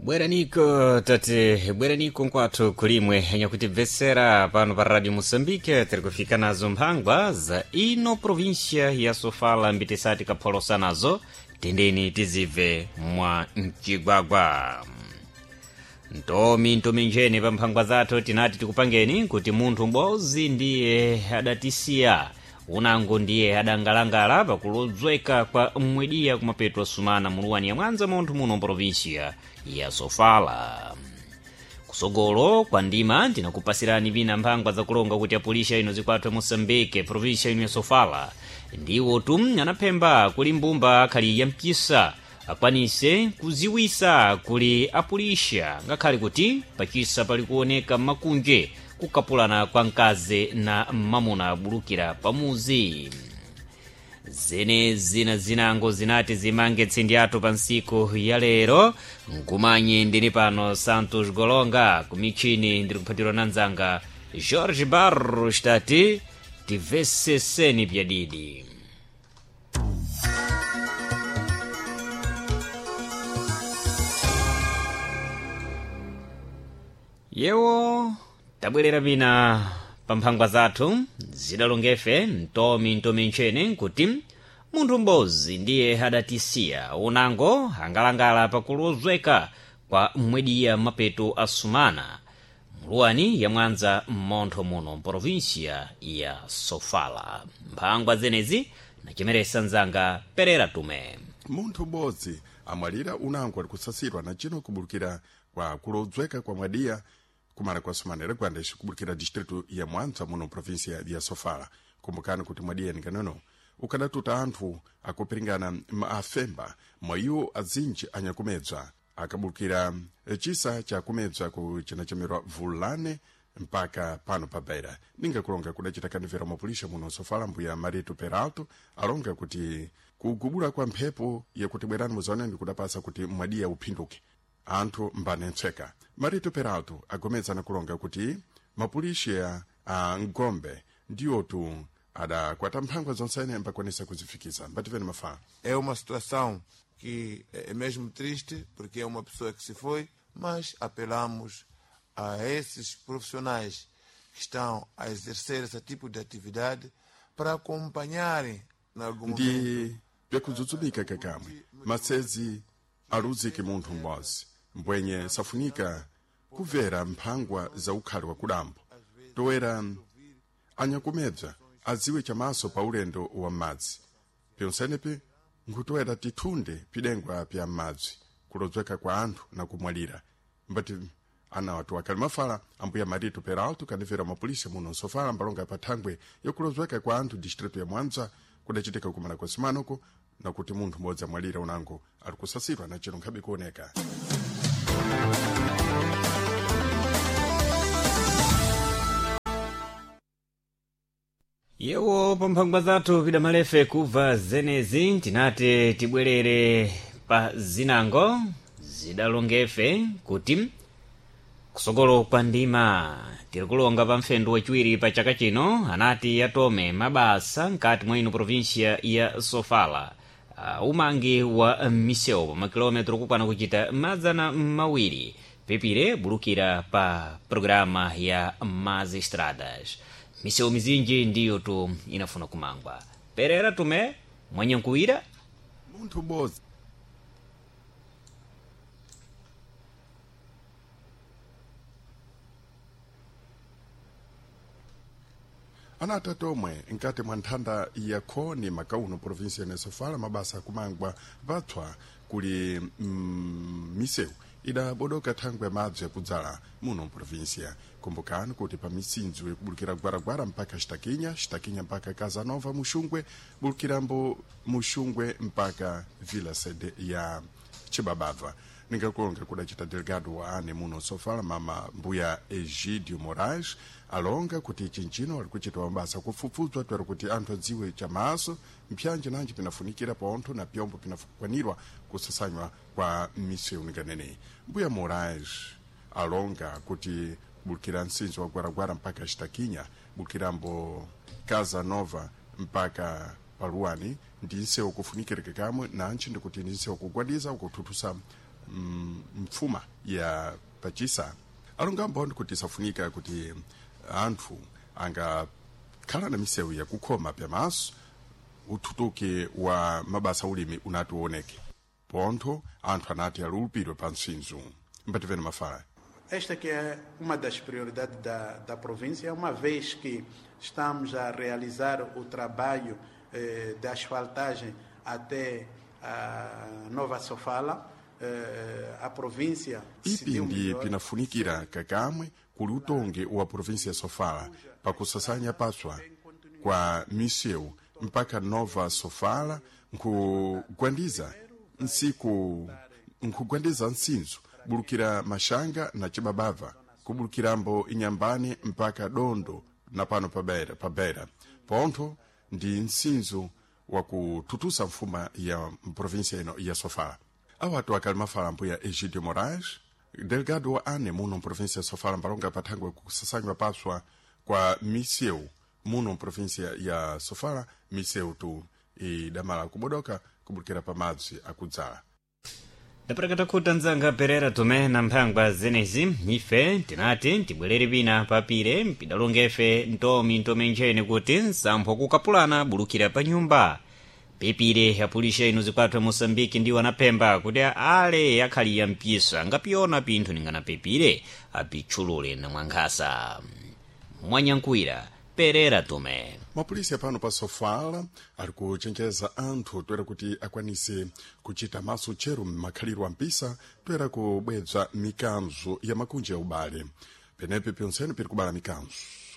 Bweraniko tate, bweraniko nkwathu kulimwe nyakutibvesera pano pa Radio Moçambique tiri kufika nazo mphangwa za ino província ya Sofala mbitisati kapholosa nazo tendeni tizibve mwa mcigwagwa. Ntomi ntomi njene pa mphangwa zathu tinati tikupangeni kuti munthu m'bodzi ndiye adatisiya unango ndiye adangalangala pakulodzweka kwa mmwediya kumapeto asumana muluwani ya mwanza munthu muno mprovinsia ya Sofala. Kusogolo kwa ndima ndinakupasirani vina mphangwa zakulonga kuti apulisha ino zikwathu Moçambique província ino ya Sofala ndiwo tu anaphemba kuli mbumba akhali ya mchisa akwanise kuziwisa kuli apulisha ngakhale kuti pachisa pali kuoneka makunje kukapulana kwa mkazi na mamuna abulukira pamuzi. Zene zina zinango zinati zimange tsindi athu pa ntsiku ya lero. Nkumanye ndini pano Santos Golonga kumichini ndiri kuphatirwa na nzanga Jorge Barros tati tiveseseni pyadidi. Yewo tabwerera pina pa mphangwa zathu zidalongefe ntomi ntomi ntchene nkuti munthu m'bodzi ndiye adatisiya unango angalangala pakulozweka kwa mmwediya mapeto asumana muluwani ya mwanza mmontho muno mprovinsia ya Sofala. Mphangwa zenezi nachemeresa nzanga Perera Tume. Munthu m'bodzi amwalira unango ali kusasirwa na cino kubulukira kwa kulodzweka kwa mwadiya kumala kwa sumanera gwandexi kubulukira distritu ya Mwanza muno província ya Sofala. Kumbukani kuti mwadiya nikanono ukadatuta anthu akupiringana maafemba mwa iwo azinji anyakumedzwa akabulukira chisa chakumedzwa ku chinachemerwa Vulane mpaka pano pa Beira. Ningakulonga kudacita kanivera mapulisha muno Sofala mbuya Marito Peralto alonga kuti kugubula kwa mphepo yakuti bwerani muzaoneni kudapasa kuti mwadiya uphinduke anthu mbanetseka. Marito Peralto agomeza nakulonga kuti mapulisha a ngombe ndiwotu adakwata mphangwa zonsene mbakwanisa kuzifikisa. Mbativeni mafala. É uma situação que é mesmo triste, porque é uma pessoa que se foi, mas apelamos a esses profissionais que estão a exercer esse tipo de atividade para acompanharem em algum momento. Ndi byakudzudzumika kakamwe masezi aluzike munthu m'bodzi mbwenye safunika kubvera mphangwa za ukhali wa kudambo toera anyakumebza adziwe chamaso pa ulendo wa m'madzi pyonsenepi nkhutoera tithunde pidengwa pya m'madzi kulodzweka kwa anthu na kumwalira. Mbati ana watu wakali mafala ambuya Marito Peralto kanivera mapolisa muno Sofala mbalonga pa thangwe yokulodzweka kwa anthu distritu ya Mwanza kudachitika kumala kwa simanoko nakuti munthu m'bodzi amwalira unango ali kusasirwa na chero nkhabe kuoneka. Yewo pa mphangwa zathu pidamalefe kubva zenezi tinati tibwerere pa zinango zidalongefe kuti kusogolo kwa ndima tiri kulonga pa mfendu wachiwiri pa chaka chino anati atome mabasa mkati mwa ino província ya Sofala. Umangi wa misewu pa makilometro kukwana kuchita 200 pepire bulukira pa programa ya Más Estradas. Misewu mizinji ndiyo tu inafuna kumangwa. Perera Tume mwanyankuwira. Munthu m'bodzi anati atomwe nkati mwa nthanda ya khoni makauno província ya Sofala mabasa akumangwa patswa kuli misewu idabodoka thangwe ya madzi yakudzala muno mprovíncia. Kumbukani kuti pa misinzo yakubulukira Gwaragwara mpaka Xitakinya, Xitakinya mpaka Casanova Muxungwe, bulukirambo Muxungwe mpaka Vila Sede ya Chibabava. Ningakulonga kudacita delegado wa ane muno Sofala mama mbuya Egidio Moraes alonga kuti chinchino ali kuchita mabasa kufufudzwa twera kuti anthu adziwe chamaso mphyanje nanji pinafunikira pontho na pyombo pinakwanirwa kusasanywa kwa misewu ninganeneyi. Mbuya Moraes alonga kuti bulukira msinzo wa Gwaragwara mpaka Xitakinya, bulukirambo Casa Nova mpaka paluwani ndi nsewu kufunikireke kamwe nantchi ndikuti ndi nsewu kugwadiza kuthuthusa mfuma ya pachisa alongambo ndi kuti safunika kuti anthu angakhala na misewu yakukhoma pyamaso uthutuki wa mabasa ulimi unati uoneke pontho anthu anati alulupidwe pa mtsinzo mbativene mafala. Esta que é uma das prioridades da província, uma vez que estamos a realizar o trabalho de asfaltagem até a Nova Sofala, a província Ipi ndi pinafunikira kakamwe kuli utongi wa província ya Sofala pakusasanya paswa kwa misewu mpaka Nova Sofala nkugwandiza nsiku nkugwandiza nsinzo bulukira mashanga na chibabava kubulukirambo inyambani mpaka dondo na pano pabera, pabera. Pontho ndi nsinzo wakututusa mfuma ya província ino ya Sofala. Awatu akali mafala mbuya Egidio Moraes, delegado wa ane muno mprovíncia ya Sofala mbalonga pathangwe kusasanywa paswa kwa misewu muno mprovíncia ya Sofala, misewu tu idamala kubodoka kubulukira pamadzi akudzala. Ndaperekata khuta nzanga Perera Tomé na mphangwa zenezi ife tinati tibwerere pina papire mpidalongefe ntomi ntomenjene kuti nsampho kukapulana bulukira pa nyumba pepire apulisha inu zikwathu ya Moçambique ndiwo anaphemba kuti ale akhaliya mpisa angapiyona pinthu ningana pepire apitchulule na mwankhasa mwanyankuwira Perera Tomé. Mapulisi apano pa Sofala ali kuchenjeza anthu toera kuti akwanise kuchita maso tcheru m'makhaliro ampisa toera kubwebza mikanzo ya makunja ya ubale penepe pyonsene piri kubala mikanzo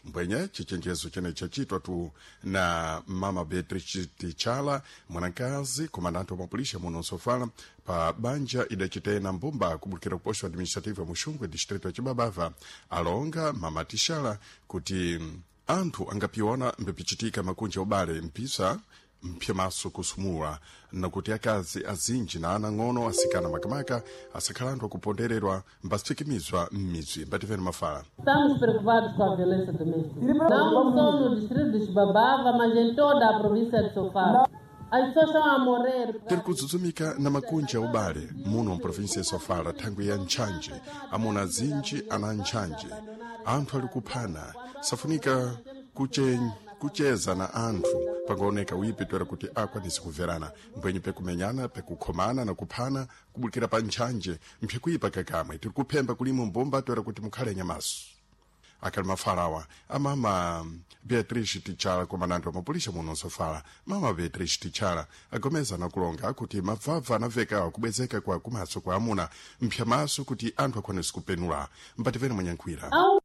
mbwenye chichenjezo chene chachitwa tu na mama Beatrice Tichala mwanakazi komandante wa mapulisha muno Sofala pa banja idachitena mbumba kubulukira kuposto administrative ya Muxungwe distrito ya Chibabava alonga mama Tichala kuti anthu angapiona mbipichitika makunja ubale mpisa mpyamaso kusumula nakuti akazi azinji na ana ng'ono asikana makamaka asakhala anthu akupondererwa mbasithikimizwa m'midzi mbativeni mafala. Estamos preocupados com a violência doméstica. Não só no distrito de Chibabava, mas em toda a província de Sofala. As pessoas estão a morrer. Tiri kudzudzumika na makunja ubale muno mprovinsi ya Sofala thangwi ya ntchanje amuna azinji ana ntchanje anthu ali kuphana safunika kucheza na anthu pangaoneka wipi toera kuti akwanise kumverana mbwenye pekumenyana pekukhomana na kuphana kubulukira pa ntchanje mphikuipa kakamwe tiri kuphemba kulimo mbumba toera kuti mukhale nyamaso akali mafalawa amama Beatrice Tichala komandanti wa mapulisha muno Sofala mama Beatrice Tichala agomeza nakulonga kuti mabvabva anaveka kubwezeka kwa kumaso kwa amuna mphyamaso kuti anthu akwanise kupenula mpativene mwanyankhwira. Há um